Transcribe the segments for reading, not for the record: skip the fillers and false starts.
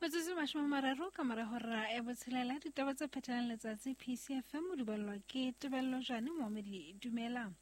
Metsotso 30 ka mora hora ya botshelela, ditaba tse phethelang letsatsi PCFM o di ballwa ke Tebello Jane Moamedi. Dumela.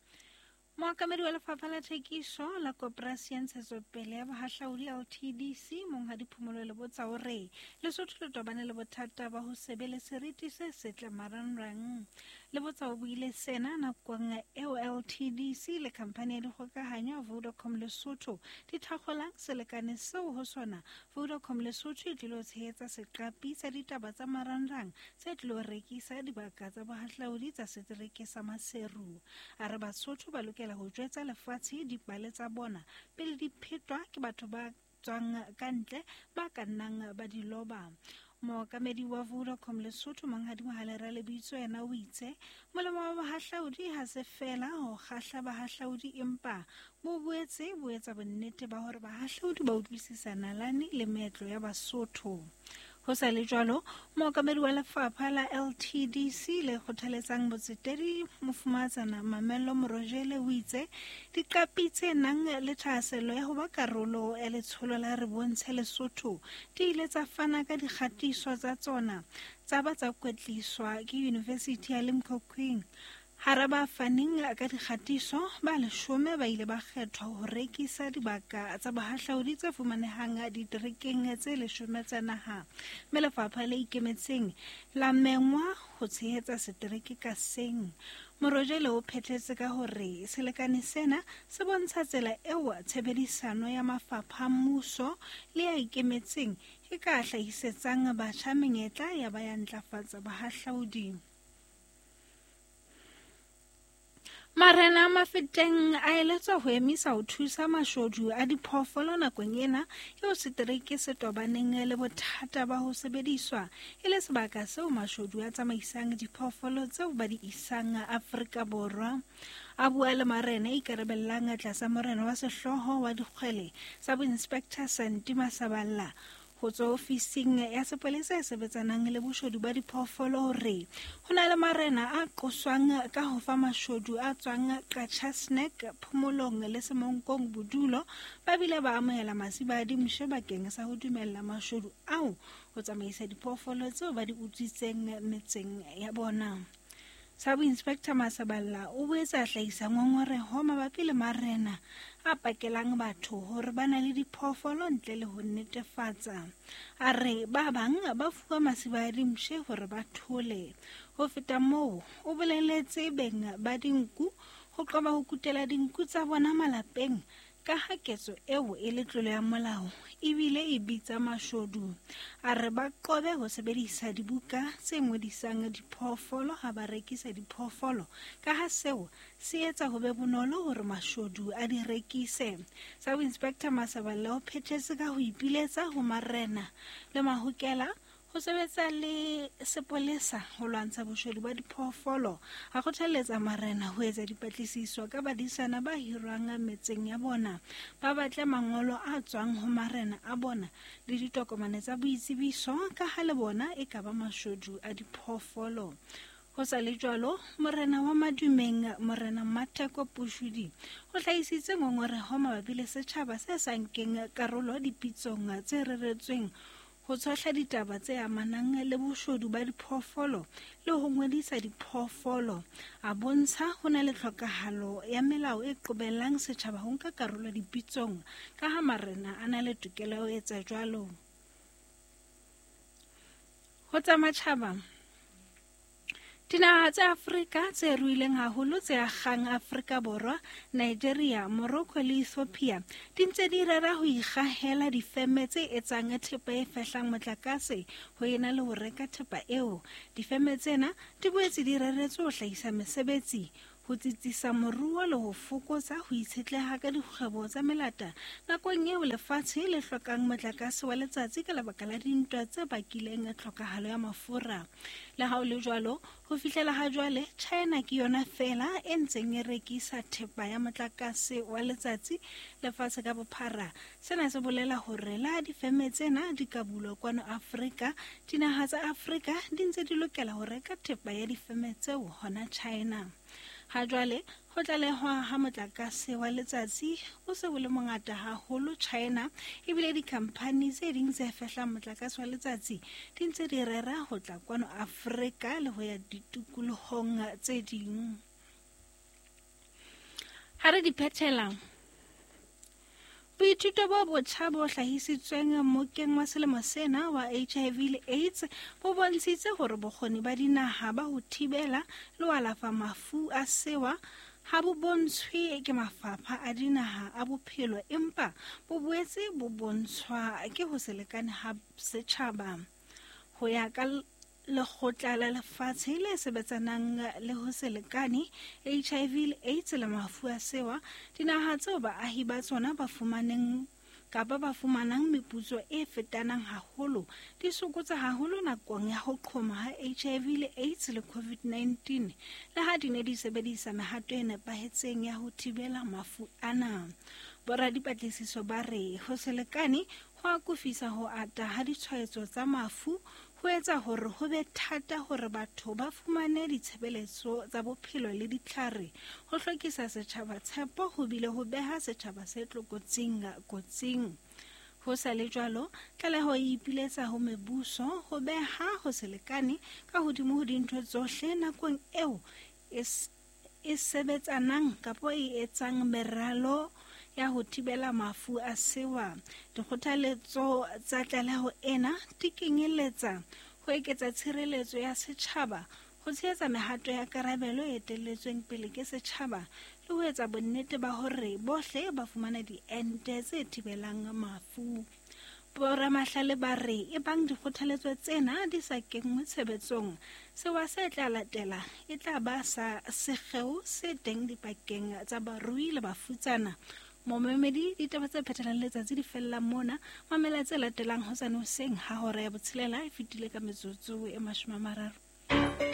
Mookamedi wa lefapha la thekiso la Koporasi ya Ntshetsopele ya Bohahlaudi LTDC, Monghadi Phomolo Lebotsa o re Lesotho le tobane le bothata ba ho se be le seriti se setle marangrang. Lebotsa o buile sena nakong eo LTDC le khamphani ya dikgokahanyo ya Vodacom Lesotho di thakgolang selekane seo ho sona Vodacom Lesotho e tlilo tshehetsa seqapi sa ditaba tsa marangrang se tlilo rekisa dibaka tsa bohahlaudi tsa setereke sa Maseru. A re Basotho ba lokela ho jwetsa lefatshe dipale tsa bona pele di phetwa ke batho ba tswang ka ntle ba ka nnang ba di loba. Mookamedi wa Vodacom Lesotho Monghadi Mohale Ralebitso yena o itse molemo wa bohahlaudi ha se feela ho kgahla bahahlaudi empa bo boetse bo etsa bonnete ba hore bahahlaudi ba utlwisisa nalane le meetlo ya Basotho. Ho sa le jwalo, mookamedi wa lefapha la LTDC le kgothaletsang botsetedi Mofumahatsana Mamello Morojele o itse diqapi tse nang le thahasello ya ho ba karolo ya letsholo la Re Bontshe Lesotho di ile tsa fana ka dikgatiso tsa tsona tsa ba tsa kwetliswa ke Yunivesithi ya Limkokwing. Hara ba faneng ka dikgatiso, ba leshome ba ile ba kgethwa ho rekisa dibaka tsa bohahlaudi tse fumanehang diterekeng tse leshome tsa naha, mme lefapha le ikemetseng la mengwa ho tshehetsa setereke ka seng. Morojele o phethetse ka hore selekane sena se bontsha tsela eo tshebedisano ya mafapha a mmuso le a ikemetseng e ka hlahisetsang batjha menyetla ya ba ya ntlafatsa bohahlaudi. Marena a Mafeteng a eletswa ho emisa ho thusa mashodu a diphoofolo nakong ena eo setereke se tobaneng le bothata ba ho sebediswa e le sebaka seo mashodu a tsamaisang diphoofolo tseo ba di isang Afrika Borwa. A bua le marena a ikarabellang tlasa morena wa sehlooho wa dikgwele sa boinspector Santi Masaballa ho tswa ofising ya sepolesa e sebetsanang le boshodu ba diphoofolo hore ho na le marena a qoswang ka ho fa mashodu a tswang Qacha's Nek, Phomolong le Semonkong bodulo, ba bile ba amohela masiba a dimpshe bakeng sa ho dumella mashodu ao ho tsamaisa diphoofolo tseo ba di utswitseng metseng ya bona. Sub-Inspector Masaballa o boetse a hlahisa ngongoreho mabapi le marena a pakelang batho hore ba na le diphoofolo ntle le ho netefatsa. A re ba bang ba fuwa masiba a dimpshe hore ba thole. Ho feta moo, o boleletse beng ba dinku ho qoba ho kutela dinku tsa bona malapeng ka ha ketso eo e le tlolo ya molao ebile e bitsa mashodu. A re ba qobe ho sebedisa dibuka tse ngodisang diphoofolo ha ba rekisa diphoofolo ka ha seo se etsa ho be bonolo hore mashodu a di rekise. Sub-Inspector Masaballa o phethetse ka ho ipiletsa ho marena le mahokela ho sebetsa le sepolesa ho lwantsha boshodu ba diphoofolo. A kgothalletsa marena ho etsa dipatlisiso ka badisana ba hirwang metseng ya bona, ba batle mangolo a tswang ho marena a bona le ditokomane tsa boitsebiso ka ha le bona e ka ba mashodu a diphoofolo. Ho sa le jwalo, morena wa Madumeng, Morena Matheko Pushudi, o hlahisitse ngongoreho mabapi le setjhaba se sa nkeng karolo dipitsong tse reretsweng ho tshohla ditaba tse amanang le boshodu ba diphoofolo le ho ngodisa diphoofolo. A bontsha ho na le tlhokahalo ya melao e qobellang setjhaba ho nka karolo dipitsong ka ha marena a na le tokelo ya ho etsa jwalo. Ho tsa matjhaba, Dinaha tsa Afrika tse ruileng haholo tse akgang Afrika Borwa, Nigeria, Morocco le Ethiopia di ntse di rera ho ikgahela difeme tse etsang thepa e fehlang motlakase ho ena le ho reka thepa eo. Difeme tsena di boetse di reretswe ho hlahisa mesebetsi, ho tsitsisa moruo le ho fokotsa ho itshetleha ka dikgwebo tsa melata nakong eo lefatshe le hlokang motlakase wa letsatsi ka lebaka la dintwa tse bakileng tlhokahalo ya mafura. Le ha ho le jwalo, ho fihlela ha jwale, China ke yona feela e ntseng e rekisa thepa ya motlakase wa letsatsi lefatshe ka bophara. Sena se bolela hore le ha difeme tsena di ka bulwa kwano Afrika, dinaha tsa Afrika di ntse di lokela ho reka thepa ya difeme tseo hona China. Ha jwale, Ho tlalehwa ha motlakase wa letsatsi o se o le mongata haholo China, ebile dikhamphani tse ding tse fehlang motlakase wa letsatsi di ntse di rera ho tla kwano Afrika le ho ya ditikolohong tse ding. Ha re di phethela, boithuto bo botjha bo hlahisitsweng mokeng wa selemo sena wa HIV le AIDS bo bontshitse hore bokgoni ba dinaha ba ho thibela le ho alafa mafu a sewa ha bo bontshwe ke mafapha a dinaha a bophelo, empa bo boetse bo bontshwa ke ho se lekane ha setjhaba. Ho ya ka Lekgotla la Lefatshe le sebetsanang le ho se lekane, HIV le AIDS le mafu a sewa, dinaha tseo baahi ba tsona ba fumaneng kapa ba fumanang meputso e fetanang haholo di sokotsa haholo nakong ya ho qhoma ha HIV le AIDS le COVID-19, le ha di ne di sebedisa mehato e nepahetseng ya ho thibela mafu ana. Boradipatlisiso ba re ho se lekane ho akofisa ho ata ha ditshwaetso tsa mafu, ho etsa hore ho be thata hore batho ba fumane ditshebeletso tsa bophelo le ditlhare, ho hlokisa setjhaba tshepo ho bile ho beha setjhaba se tlokotsing kotsing. Ho sa le jwalo, tlaleho e ipiletsa ho mebuso ho beha ho se lekane ka hodimo ho dintho tsohle nakong eo e sebetsanang kapa e etsang meralo ya ho thibela mafu a sewa. Dikgothaletso tsa tlaleho ena di kenyeletsa ho eketsa tshireletso ya setjhaba, ho tshehetsa mehato ya karabelo e etelletsweng pele ke setjhaba, le ho etsa bonnete ba hore bohle ba fumana diente tse thibelang mafu. Boramahlale ba re ebang dikgothaletso tsena di sa kenngwe tshebetsong, sewa se tla latela e tla ba sa sekgeo se teng dipakeng tsa barui le bafutsana. Momamedi, ditaba tse phethelang letsatsi di fella mona. Mamela tse latelang hosane hoseng ha hora ya 6 e fetile ka metsotso e 30.